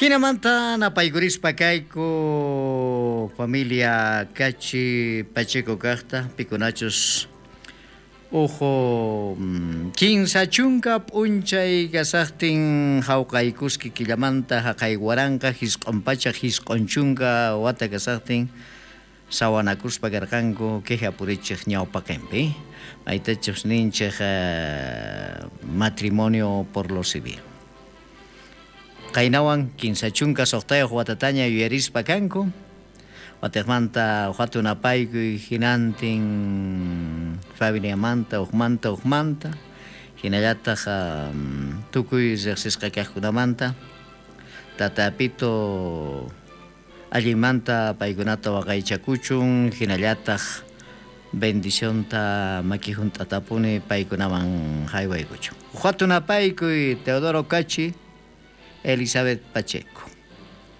Jinamanta napaykurispa kayku familia Cachi Pacheco kajta, pikunachus uj 30 p'unchay kasajtin jawqaykuski killamanta jaqay 1990 wata kasajtin sawanakuspa karqanku queja purichej ñawpaqenpi, maytachus ninchej matrimonio por lo civil. Qaynawan 36 watataña yuyarispa kanku, watejmanta hatun apaykuy hinantin familiamanta ujmanta ujmanta, hinallataq tukuy riqsisqa kaqkunamanta Tata Apito allinmanta paykunata waqaychakuchun, hinallataq bendicionta maki hunt'atapuni paykunaman haywaykuchun. Hatun apaykuy Teodoro Cachi, Elizabeth Pacheco.